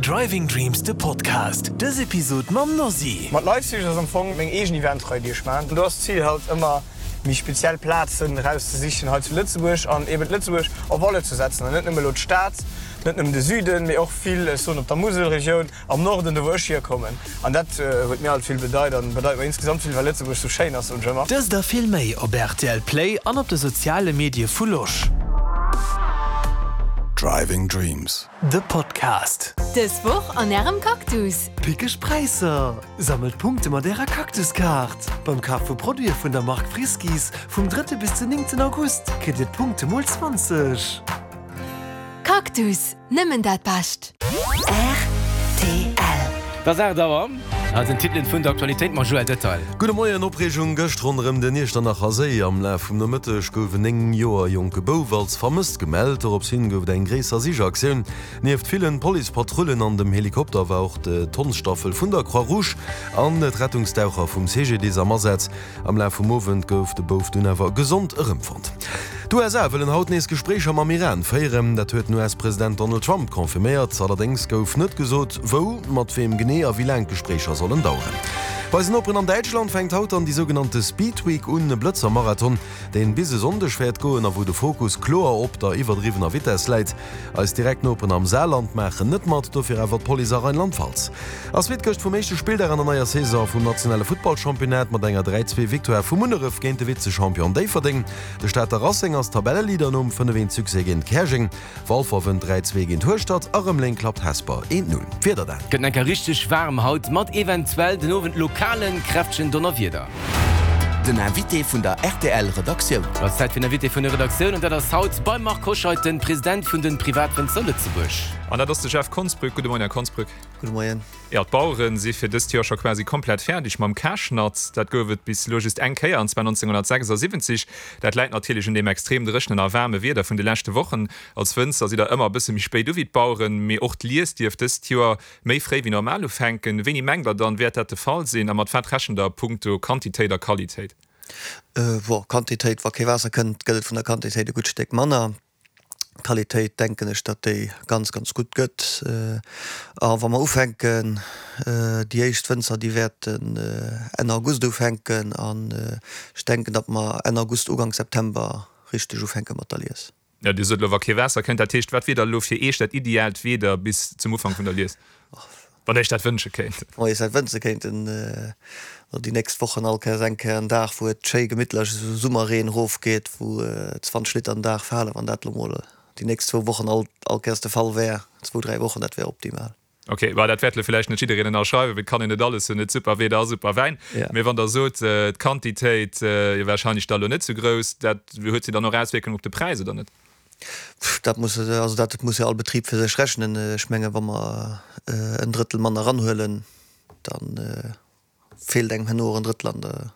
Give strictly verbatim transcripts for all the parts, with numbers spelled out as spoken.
Driving Dreams, de Podcast. Dës Episod mam Nosy. Mat Leipzig ass am Fong meng eegen Eventrei, déi ech maachen. Do ass d'Zil halt ëmmer méi speziell Plazen erauszesichen hei zu Lëtzebuerg an eben Lëtzebuerg en valeur ze setzen an net nëmme elo d'Stad, net nëmmen de Süden, mee och vill, ech soen, op der Muselregioun, am Norden, do wou ech hierkommen. An dat huet mir alt vill bedeit an bedeit mer insgesamt vill, well Lëtzebuerg sou schéin ass, soen ech ëmmer. Dëst a vill méi op rtl Play an op de soziale Medie vu Losch. Driving Dreams. De Podcast. Dës Woch an Ärem Cactus. Pickeg Präisser! Sammelt Punkte mat Ärer Cactus-Kaart! Beim Kaf vu Produite vun der Mark Friskies vum drëtte bis den néngten August kritt Dir d'Punkte mol zwanzeg. Cactus, nëmmen dat Bescht! Rtl. Et ass aacht Auer. Hei sinn d'Titelen vun der Aktualitéit mam Joël Detail. Gudde Moien, Opreegung gëscht ronderëm den Iechternacher Séi. Am Laf vum Nomëtteg gouf en néng Joer jonke Bouf als vermësst gemellt. Dorops hin gouf et eng gréisser Sichaktioun. Nieft villen Policepatrullen an dem Helikopter war och d'Hondsstaffel vun der Croix-Rouge an d'Rettungsdaucher vum C G D I S am Asaz. Am Laf vum Owend gouf de Bouf dunn awer gesond erëmfonnt. D'U S A wëllen haut nees Gespréicher mam Iran féieren. Dat huet den U S-President Donald Trump confirméiert. Allerdéngs gouf net gesot, wou, mat weem genee a wéi laang d'Gespréicher sollen daueren. Bei eisen Noperen an Däitschland fänkt haut dann déi sougenannte Speed Week un, e Blëtzer-Marathon, deen bis e Sonndeg wäert goen a wou de Fokus kloer op der iwwerdriwwener Vitess läit. Eis direkt Noperen am Saarland maachen net mat, dofir awer d'Police a Rheinland-Pfalz. Ass Suite gëscht vum éischte Spilldag an der neier Saison vum nationale Futtballchampionnat mat enger dräi zwee Victoire vu Munneref géint de Vize-Champion Déifferdeng. De Stater Racing ass Tabelleleader nom fënnef eent Succès géint Käerjeng. Walfer wënnt dräi zwee géint Hueschtert a Rëmeleng klappt Hesper eent null. D'Wieder dann. Gëtt enker richteg waarm haut mat eventuell den Owend lokalen kräftegen Donnerwieder. Den Invité vun der R T L Redaktioun. Et ass Zäit fir den Invité vun der Redaktioun an dat ass haut beim Marc Hoscheid, den President vun den Privatwënzer Lëtzebuerg. An dat ass de Jeff Konsbrück. Gudde Moien, Här Konsbrück. Gudde Moien. Jo, d'Bauere si fir dëst Joer scho quasi komplett fäerdeg mam Karschnatz. Dat gouf et bis elo just eng Kéier, an zwar nonzénghonnertsechsasiwwenzeg. Dat läit natierlech un deem extrem dréchenen a waarme Wieder vun de leschte Wochen. Als Wënzer sidd Der ëmmer e bësse méi spéit u wéi d'Baueren, mee och d'Lies dierft dëst Joer méi fréi wéi normal ufänken. Wéini mengt Der dann, wäert dat de Fall sinn a mat wat rechent Der punkto Quantitéit a Qualitéit? Bon, Quantitéit, wa kee Waasser kënnt, gëtt et vun der Quantitéit e gutt Stéck manner. Qualitéit denken ech, datt déi ganz, ganz gutt gëtt. A wa mer ufänken, déi éischt Wënzer, déi wäerten Enn August ufänken an ech denken, datt mer Enn August, Ugank September richteg ufänke mat der Lies. Jo, Dir sot elo, wa kee Waasser kënnt. Dat heescht, wat wier da elo fir Iech dat ideaalt Wieder bis zum Ufank vun der Lies, wann Der Iech dat wënsche kéint? Wann mer eis dat wënsche kéinten, déi nächst Wochen all Kéiers eng Kéier en Dag, wou et schéi gemittlech esou Summerreen erofgeet, wou zwanzeg Liter den Dag falen, wann dat elo mol déi nächst zwou Wochen all all Kéiers de Fall wär, zwou, dräi Wochen, dat wär optimal. Ok, bah, dat wäert elo villäicht net jiddereen ënnerschreiwen, well et kann een net alles hunn, net super Wieder a super Wäin. Mee wann Der sot, d'Quantitéit wier warscheinlech da elo net sou grouss, dat huet jo dann och Auswierkungen op de Präis, oder net? Dat muss, also dat muss jo all Betrib fir sech rechnen. Ech menge wa mer en Drëttel manner eranhuelen, da feelt engem herno och en Drëttel an der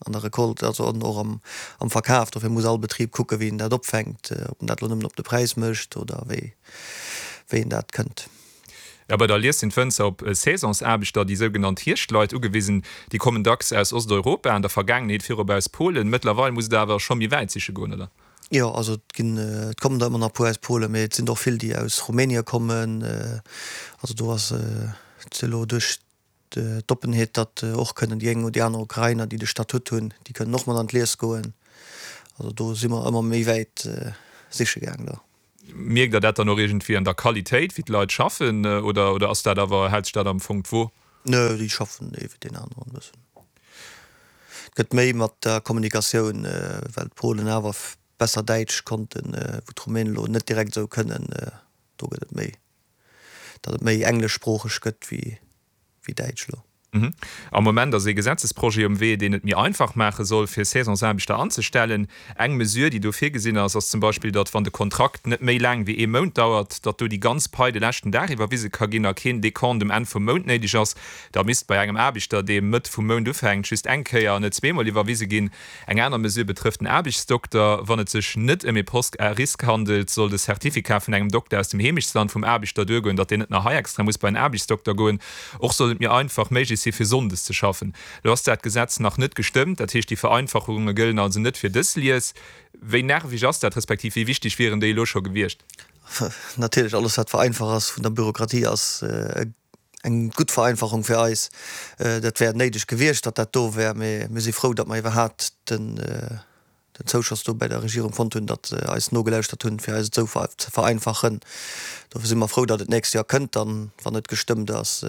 an der Recolte, also an och am am Verkaf. Dofir muss all Betrib kucke wéi en dat opfänkt, ob en dat elo nëmmen op de Präis mécht oder wéi wéi en dat kënnt. Jo, bei der Lies sinn d'Wënzer op Saisonsaarbechter, déi sougenannt Hierschtleit, ugewisen. Déi kommen dacks aus Osteuropa, an der Vergaangenheet virop aus Polen. Mëttlerweil musst Der awer scho méi wäit siche goen, oder? Jo, also et ginn, et kommen der ëmmer nach e puer aus Polen, mee et sinn der och vill, déi aus Rumänien kommen. Also do ass et elo duerch d'Oppenheet, datt och kënnen déi eng oder déi aner Ukrainer, déi de Statut hunn, déi kënnen och mat an d'Lies goen. Also do si mer ëmmer méi wäit siche gaang da. Mierkt Der dat dann och iergendwéi an der Qualitéit, wéi d'Leit schaffen, oder oder ass dat awer, hält sech dat am Fong d'Wo? Nö, déi schaffen ewéi deen aneren e bëssen. Et gëtt méi mat der Kommunikatioun, well d'Polen awer besser Däitsch konnten, wou d'Rumänen elo net direkt esou kënnen. Do gëtt et méi, datt et méi engleschsproocheg gëtt wéi wéi Däitsch elo. Am Moment ass ee Gesetzesprojet um Wee, deen et méi einfach maache soll, fir Saisonsaarbechter anzestellen. Eng Mesure, déi do virgesinn ass, ass zum Beispill, datt, wann de Kontrakt net méi laang wéi ee Mount dauert, datt do déi ganz Pai de leschten Dag iwwerwise ka ginn a keen Dekont um Enn vum Mount néideg ass. Da misst bei engem Aarbechter, dee Mëtt vum Mount ufänkt, just eng Kéier an net zweemol iwwerwise ginn. Eng aner Mesure betrëfft den Aarbechtsdokter. Wann et sech net ëm ee Poste à risque handelt, soll de Certificat vun engem Dokter aus dem Heemechtsland vum Aarbechter duergoen, datt deen net nach hei extra muss bei en Aarbechtsdokter goen. Och soll et méi einfach méiglech si fir sonndes ze schaffen. Elo ass dat Gesetz nach net gestëmmt, dat heescht déi Vereinfachunge gëllen also net fir dës Lies. Wéi nerveg ass dat, respektiv wéi wichteg wieren déi elo scho gewiescht? Natierlech, alles wat vereinfacht ass vun der Bürokratie ass eng gutt Vereinfachung fir eis. Dat wär néideg gewiescht, datt dat do wär, mee mir si frou, datt mer iwwerhaapt den Zouschoss do bäi der Regierung fonnt hunn, datt se eis nogelauschtert hunn, fir eis et esou ze vereinfachen. Dofir si mer frou, datt et d'nächst Joer kënnt dann, wann et gestëmmt ass.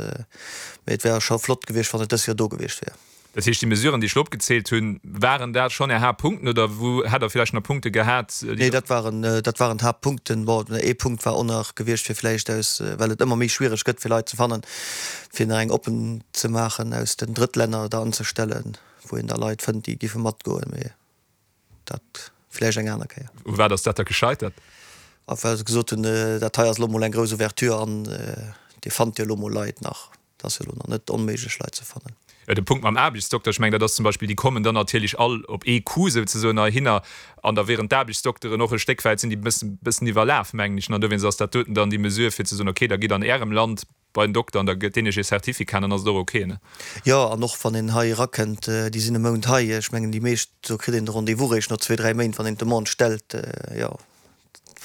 Mee et wär scho flott gewiescht, wann et dës Joer do gewiescht wär. Dat heescht, déi Mesuren, déi ech elo opgezielt hunn, waren dat schonn Är Haaptpunkten oder wou hätt Der villäicht nach Punkte gehat, déi. Nee, dat waren, dat waren d'Haaptpunkten. Bon, ee Punkt war och nach gewiescht, fir vläicht aus, well et ëmmer méi schwiereg gëtt, fir Leit ze fannen, fir nach eng oppen ze maachen, aus den Drëttlänner der anzestellen, wou een da Leit fënnt, déi giffe matgoen. Mee dat vläicht eng aner Kéier. U wat ass dat da gescheitert? A well se gesot hunn, dat hei ass elo mol eng grouss Ouverture an Dir fannt jo elo mol Leit nach. Et ass jo elo nach net onméiglech, Leit ze fannen. Jo, de Punkt mam Aarbechtsdokter, ech mengen, dat ass zum Beispill, déi kommen dann natierlech all op ee Coup souzesoen heihinner an da wieren d'Aarbechtsdokteren och e Stéck wäit, sinn déi e bëssen iwwerlaf, mengen ech. An dowéinst ass dat doten dann déi Mesure, fir ze soen, okay, da gitt an Ärem Land bei den Dokter an da gëtt deen Iech ee Certificat an dann ass et och okay, ne? Jo, an och wann een hei erakënnt, déi sinn e Mount hei, ech mengen déi meescht, do kritt een de Rendez-vous réischt no zwee, dräi Méint, wann een d'Demande stellt. Jo,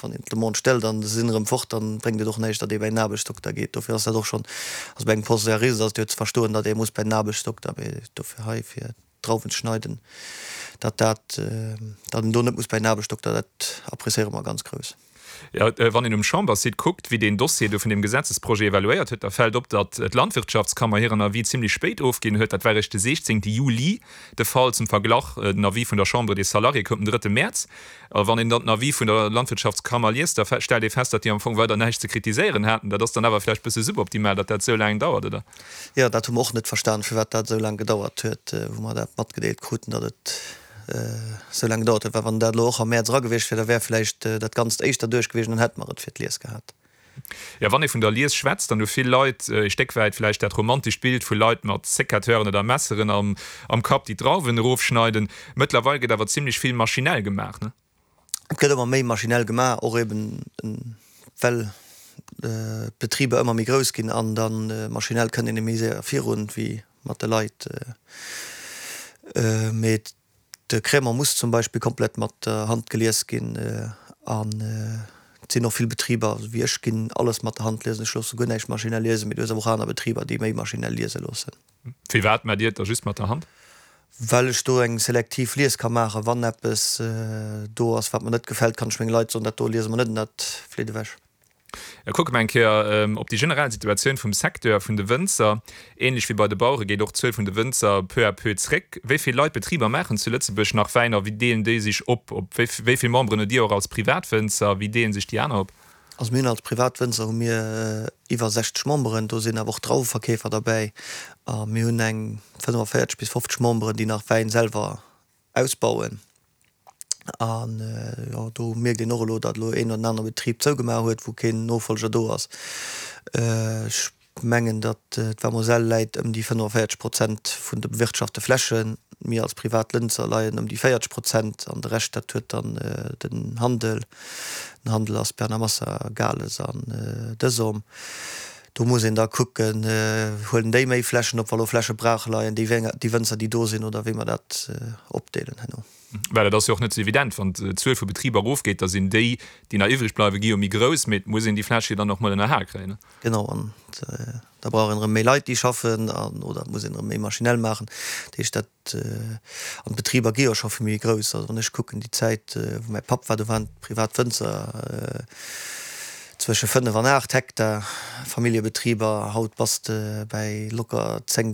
wann een d'Demande stellt an se sinn erëm fort, dann bréngt et och näischt, datt ee bäi den Aarbechtsdokter geet. Dofir ass dat och schonn, also bei engem Poste-Jurist ass et jo ze verstoen, datt ee muss bäi den Aarbechtsdokter, mee dofir hei fir d'Drauwen ze schneiden, datt dat, datt een do net muss bäi den Aarbechtsdokter, dat appréciéiere mer ganz grouss. Jo, wann een um Chamberssite kuckt, wéi deen Dossier do vun deem Gesetzesprojet evaluéiert huet, da fält op, datt d'Landwirtschaftskammer hiren Avis zimlech spéit ofginn huet. Dat war eréischt de siechzéngte Juli de Fall. Zum Verglach, den Avis vun der Chambre des Salariés koum den drëtte Mäerz. A wann een dann den Avis vun der Landwirtschaftskammer liest, da stellt ee fest, datt déi am Fong weider näischt ze kritiséieren haten. Dat ass dann awer vläicht bësse suboptimal, datt dat esou laang dauert, oder? Jo, dat hu mer och net verstan, firwat dat esou laang gedauert huet, wou mer dat matgedeelt kruten, datt et esou laang gedauert huet, well wann dat elo och am Mäerz era gewiescht wier, da wär vläicht dat Ganzt éischter duerch gewiescht an dann hätte mer et fir d'Lies gehat. Jo, wann ee vun der Lies schwätzt, dann hu vill Leit e Stéck wäit vläicht dat romantescht Bild vu Leit mat Secateuren oder Messeren am Kapp, déi d'Drauwen erofschneiden. Mëttlerweil gëtt awer zimlech vill maschinell gemaach, ne? Et gëtt ëmmer méi maschinell gemaach, och eben well d'Betriber ëmmer méi grouss ginn an da maschinell kënnt een méi séier virun wéi mat de Leit. Mee de Crémant muss zum Beispill komplett mat der Hand gelies ginn an et sinn och vill Betriber, wéi ech ginn alles mat der Hand liesen, ech loosse guer näischt maschinell liesen, mee du hues awer och aner Betriber, déi méi maschinell liese loossen. Firwat maacht Dir et da just mat der Hand? Well ech do eng selektiv Lies ka maachen. Wann eppes do ass, wat mer net gefält, kann ech menge Leit soen, dat do liese mer net an dat flitt ewech. Kucke mer eng Kéier op déi generell Situatioun vum Secteur vun de Wënzer. Ähnlech wéi bei de Bauere geet och d'Zuel vun de Wënzer peu à peu zréck. Wéi vill Leit, Betriber maachen zu Lëtzebuerg nach Wäin a wéi deelen déi sech op? Op wéi vill Memberen hutt Dir och als Privatwënzer? Wéi deelen sech déi aner op? Also mir hunn als Privatwënzer hu mir iwwer sechzeg Memberen, do sinn awer och Drauweverkeefer derbäi a mir hunn eng fënnefenvéierzeg bis fofzeg Memberen, déi nach Wäin selwer ausbauen. An jo, do mierkt een och elo, datt elo een oder den anere Betrib zougemaach huet, wou keen Nofollger do ass. Ech mengen, datt d'Vermoselle läit ëm déi fënnefenvéierzeg Prozent vun de bewirtschaftete Flächen. Mir als privat Lënzer leien ëm déi véierzeg Prozent an de Rescht, dat huet dann den Handel. Den Handel ass Bernard Massa, Gales an Desom. Do muss een da kucken, huelen déi méi Flächen op, wa lo Fläche brach leien, déi Wënzer, déi do sinn, oder wéi mer dat opdeelen herno. Well et ass jo och net esou evident, wann d'Zuel vu Betriber erofgeet, da sinn déi, déi nach iwwreg bleiwen, gi jo méi grouss, mee et muss een déi Fläch jo dann och mol ënnerhal kréien. Genau, an da brauch een erëm méi Leit, déi schaffen, an oder et muss een erëm méi maschinell maachen. Dat heescht, dat, an d'Betriber gi jo scho vill méi grouss. Also wann ech kucken, déi Zäit, wou mäi Papp war, do waren d'privat Wënzer zwësche fënnef an aacht Hektar, Familljebetriber. Haut bass de bäi locker zéng.